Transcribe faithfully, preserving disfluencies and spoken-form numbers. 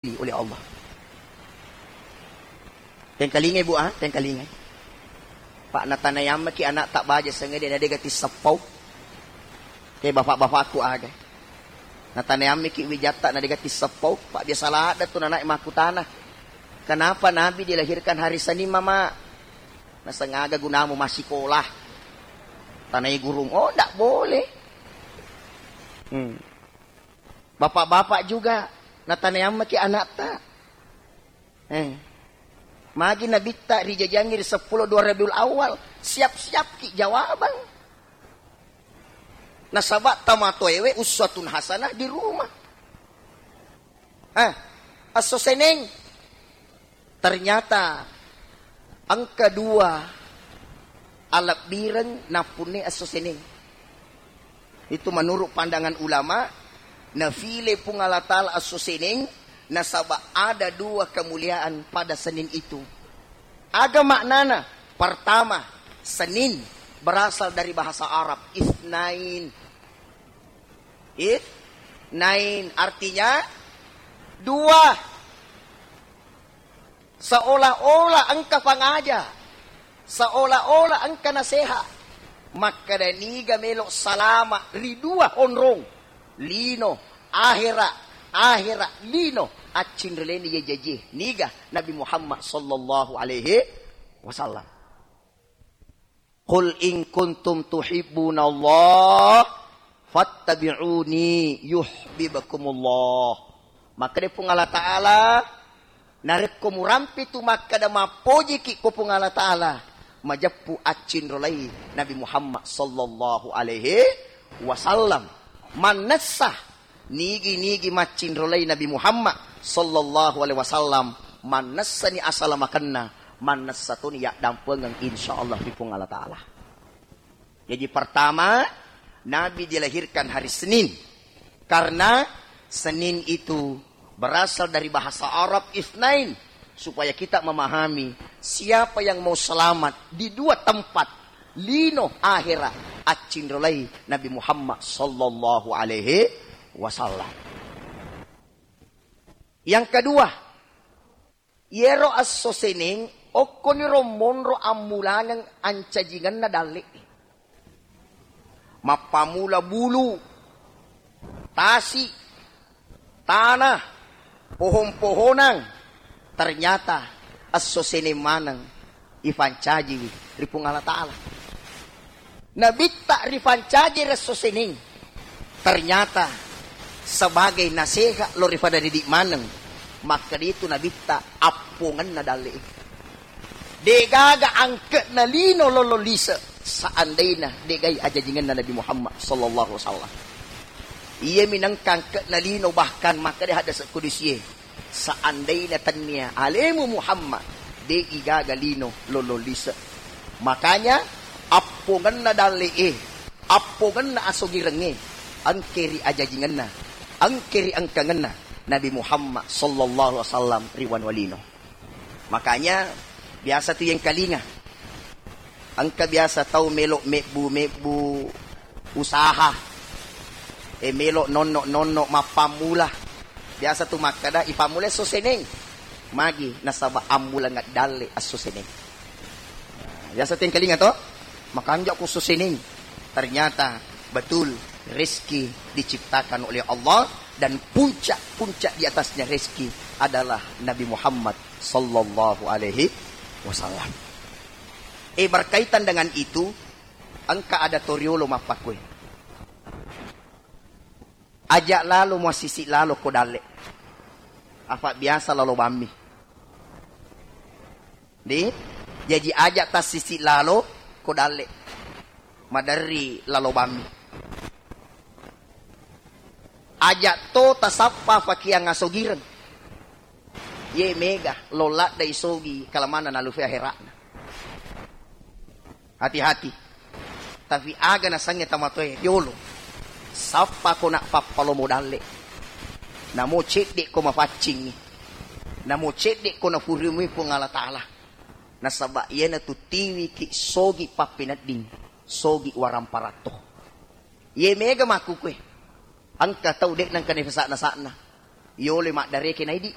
oleh Allah. Tengkalingai, Bu, ah, tengkalingai. Pak, natanayammaki ana'ta baja sengede na dega tisseppau. Ke bapak-bapakku aga. Natanayammiki wijatta na dega tisseppau. Pak, biasa ladda tu nanae makkutana, "Kenapa Nabi dilahirkan hari Senin, Mama?" "Nasengaga gunamu massikola." Tanai gurung, "Oh, ndak boleh." Hmm. Bapak-bapak juga, natanayammaki ana'ta. Eh. Magi nabitta rijajiangngi ri seppulo dua Rabiul Awal, siap-siapki jawabang. Nasaba tamatoewe uswatun hasanah di rumah. Eh, esso Seneng. Ternyata engka dua alebbireng nappunne esso Seneng. Itu menurut pandangan ulama, nafile Puang Allah Ta'ala esso Seneng, nasaba ada dua kemuliaan pada Senin itu. Aga maknana? Pertama, Senin berasal dari bahasa Arab, isnain. Isnain, artinya dua. Seolah-olah engka pangaja, seolah-olah engka naseha. Makkeda niga melo salama ri dua onrong, lino ahera, ahera lino, accinreleni ye jajie. Niga? Nabi Muhammad sallallahu alaihi wasallam. "Qul in kuntum tuhibbunallah fattabi'uni yuhibbukumullah." Makkeda Puang Allah Ta'ala, narekko murampe tu makkeda mappojiki ko Puang Allah Ta'ala, majeppu accinrolai Nabi Muhammad sallallahu alaihi wasallam. Mannessa nigi-nigi maccinrolai Nabi Muhammad sallallahu alaihi wasallam, mannessani asalamakenna, mannessa toni yaddampengeng insyaallah ri Puang Allah Ta'ala. Jadi pertama, Nabi dilahirkan hari Senin karena Senin itu berasal dari bahasa Arab isnain, supaya kita memahami siapa yang mau selamat di dua tempat, lino ahera, accinrolai Nabi Muhammad sallallahu alaihi wasallam. Yang kedua, yero esso Seneng okkoniro monro ammulangeng ancajingenna dalle. Mappamula bulu, tasi, tanah, pohon-pohonang, ternyata esso Seneng maneng ifancajiwi ri Puang Allah Ta'ala. Nabitta rifancaji ri esso Seneng, ternyata sebagai naseha lo ri pada didik maneng, makkeda itu Nabitta appongenna dalle. Degaga angke'na lino lolo lise seandaina degai ajajingenna Nabi Muhammad sallallahu alaihi wasallam. Iyami nengka angke'na lino, bahkan makkeda hadis kudusie, seandaina tennia alemu Muhammad, de'i gaga lino lolo lise. Makanya appongenna dalle'e, appongenna asogirengnge, engke ri ajajingenna, engke ri engkangenna Nabi Muhammad sallallahu alaihi wasallam ri wanua lino. Makanya biasa tu yengkalinga. Engka biasa tau melo mebbu-mebbu usaha, e, melo nonno-nonno mappammula. Biasa tu makkeda, "Ipammula esso Seneng." Magi? Nasaba ammulangeng dalle esso Seneng. Biasa tu yengkalinga to? Makanja ko esso Seneng. Ternyata betul rezeki diciptakan oleh Allah dan puncak-puncak di atasnya rezeki adalah Nabi Muhammad sallallahu alaihi wasallam. Eh, berkaitan dengan itu, engka ada toriolo mappakkue. Aja lalo muassisi lalo ko dalle. Apa biasa lalo bammi. Di? Jaji aja tassisi lalo ko dalle. Maderri lalo bammi. Aja to tasappa fakiang asogireng. Ye mega lo ladda isogi kalamanna nalufe ahera'na. Hati-hati. Tapi aga nasengnge tamatoe riolo. Sappa ko nak pappalomo dalle. Namo cedde ko mafaccingi. Namo cedde ko nafurumui Puang Allah Ta'ala. Nasaba iyanatu tiwiki sogi pappenedding, sogi waramparatto. Ye mega makkukue. Engka tau de' nengka nefasa'na-sa'na. Yoloi maddareke na idi.